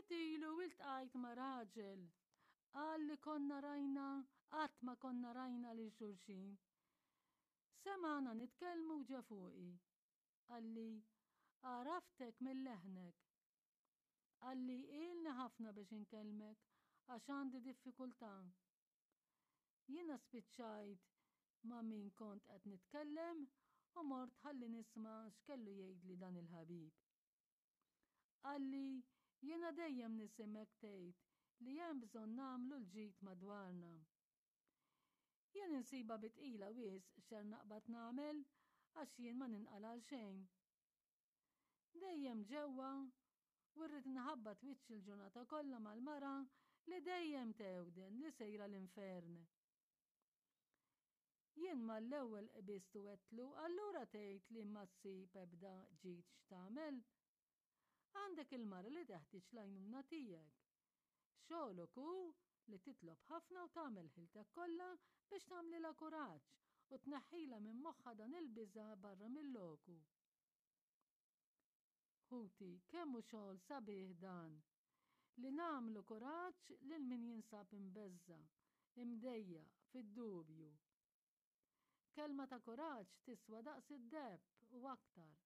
Ftit ilu iltqajt ma' raġel. Qal li konna rajna qatt ma konna rajna lil xulxin. Semagħna nitkellmu u ġa fuqi. Qalli, għaraftek minn leħnek. Qalli ilni ħafna biex inkellmek għax għandi diffikultà. Jiena spiċċajt ma' min kont qed nitkellem u mort ħalli nisma' x'kellu jgħidli dan il-ħabib. Qalli, jiena dejjem nisimgħek tgħid li hemm bżonn nagħmlu l-ġid madwarna. Jien insibha bi tqila wisq x'ser naqbad nagħmel għax jien ma ninqala' għal xejn. Dejjem ġewwa u rrid nħabbat wiċċi l-ġurnata kollha mal-mara li dejjem tewden li sejra l-infern. Jien mal-ewwel qbist u għedtlu allura tgħid li ma ssib ebda ġid x'tagħmel? Għandek il-mara li teħtieġ l-għajnuna tiegħek. Xogħlok hu li titlob ħafna u tagħmel ħiltek kollha biex tagħmlilha kuraġġ u tneħħilha minn moħħha dan il-biża' barra mil-loku. Ħuti, kemm hu xogħol sabiħ dan! Li nagħmlu kuraġġ lil min jinsab imbeżża', imdejjaq, fid-dubju. Kelma ta' kuraġġ tiswa daqs id-deheb u aktar.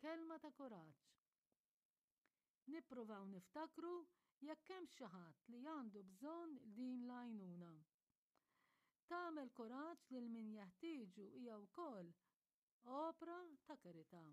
Kelma ta' kuraġġ. Nippruvaw niftakru jekk hemmx xi ħadd li għandu bżonn din l-għajnuna. Tagħmel kuraġġ lil min jeħtieġu hija wkoll opra ta' karità.